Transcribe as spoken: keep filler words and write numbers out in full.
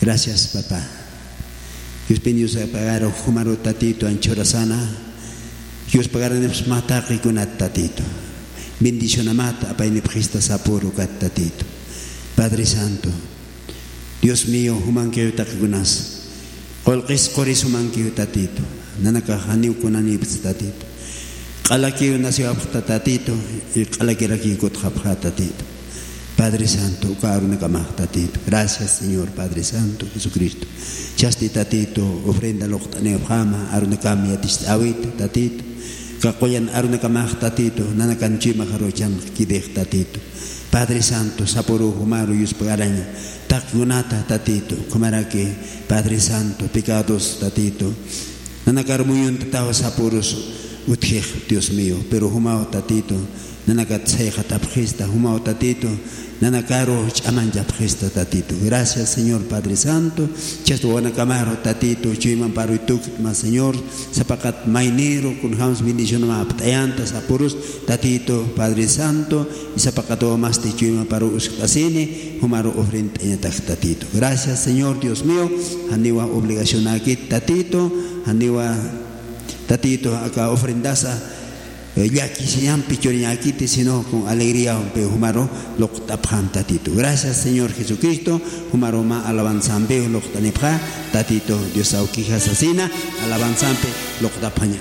Gracias, papá. Yuspin Dios apagaru jumaru tatitu anchurasana. Yuspagaranipsma taqikunat tatitu. Bendicionamat apaynipxista sapuru kat tatitu. Padre Santo, Dios mío, jumankiw taqikunas. Qullqis quris jumankiw tatitu. Nanakax janiw kunanipts tatitu. Q'alakiw naciwapxta tatitu, y q'alakirakiw kutxapxa tatitu. Padre Santo, uka arunakamax tatitu. Gracias, Señor Padre Santo Jesucristo. Chasti tatitu, ofrenda luqt'anipxama, arunakam yaticht'äwit tatitu. Kaqullan arunakamax tatitu, nanakan chuymaxaruw chhamkirix tatitu. Padre Santo, sapuru jumaru yuspagaraña. Taqkunata tatitu, ukhamaraki Padre Santo, pecados tatitu. Nanakar muyuntataw sapurus utjix, Dios mío, pero jumaw tatitu, nanakat sayxatapxista, jumaw tatitu, nanakaru ch'amanchapxista tatitu. Gracias, Señor Padre Santo, chasta wawanakamaru tatitu, chuymamparu tukt'ma, Señor, sapaqat mayniru, kunjams bendicionama apt'ayanta, sapurus tatitu, Padre Santo, y sapaqat wawamasti chuymaparu uskt'asini, jumaru ofrendt'añatak tatitu. Gracias, Señor Dios mío, janiwa obligacionakit tatitu, janiwa tatitu aka ofrendasa, eh, llakisiñampi churiñakiti, sino con alegría, jumaru luqt'apxam tatitu. Gracias, Señor Jesucristo, jumaru mä alabanzampi luqt'anipxa, tatitu Dios awkija sasina, alabanzampi luqt'apxaña.